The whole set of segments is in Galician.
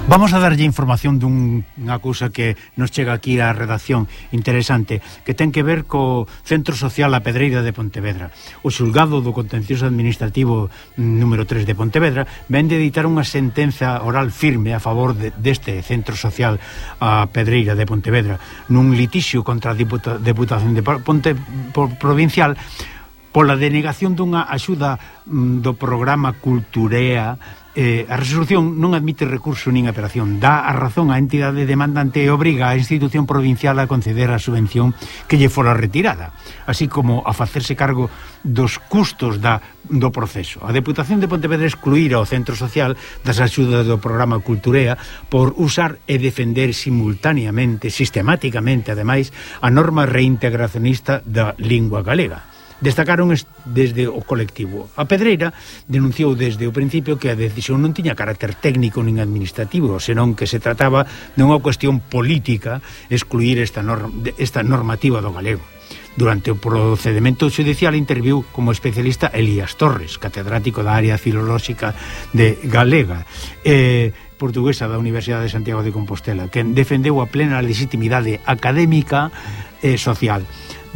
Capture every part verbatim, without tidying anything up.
Vamos a darlle información dunha cousa que nos chega aquí á redacción interesante, que ten que ver co Centro Social A Pedreira de Pontevedra. O xulgado do Contencioso Administrativo número tres de Pontevedra ven de editar unha sentenza oral firme a favor de, deste Centro Social A Pedreira de Pontevedra nun litixio contra a Diputa, Deputación de Ponte por, Provincial pola denegación dunha axuda mm, do programa Culturea. Eh, a resolución non admite recurso nin apelación, dá a razón á entidade demandante e obriga a institución provincial a conceder a subvención que lle fora retirada, así como a facerse cargo dos custos da, do proceso. A Deputación de Pontevedra excluíra o Centro Social das axudas do programa Culturea por usar e defender simultaneamente, sistemáticamente, ademais, a norma reintegracionista da lingua galega. Destacaron desde o colectivo. A Pedreira denunciou desde o principio que a decisión non tiña carácter técnico nin administrativo, senón que se trataba dunha cuestión política excluir esta, norm, esta normativa do galego. Durante o procedimento judicial interviu como especialista Elías Torres, catedrático da área filolóxica de galega, eh, portuguesa da Universidade de Santiago de Compostela, que defendeu a plena legitimidade académica e social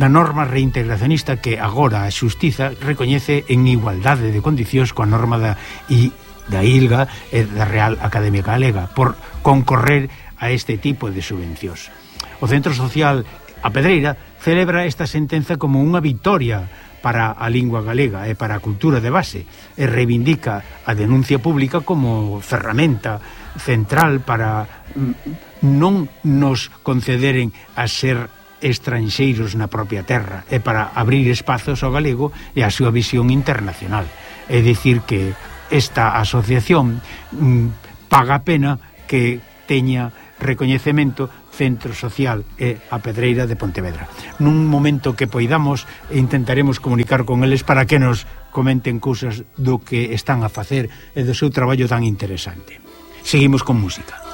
da norma reintegracionista que agora a xustiza recoñece en igualdade de condicións coa norma da, I, da I L G A e da Real Academia Galega por concorrer a este tipo de subvencións. O Centro Social A Pedreira celebra esta sentenza como unha vitoria para a lingua galega e para a cultura de base e reivindica a denuncia pública como ferramenta central para non nos concederen a ser estranxeiros na propia terra e para abrir espazos ao galego e a súa visión internacional. É dicir que esta asociación mm, paga a pena que teña recoñecemento Centro Social e A Pedreira de Pontevedra. Nun momento que poidamos intentaremos comunicar con eles para que nos comenten cousas do que están a facer e do seu traballo tan interesante. Seguimos con música.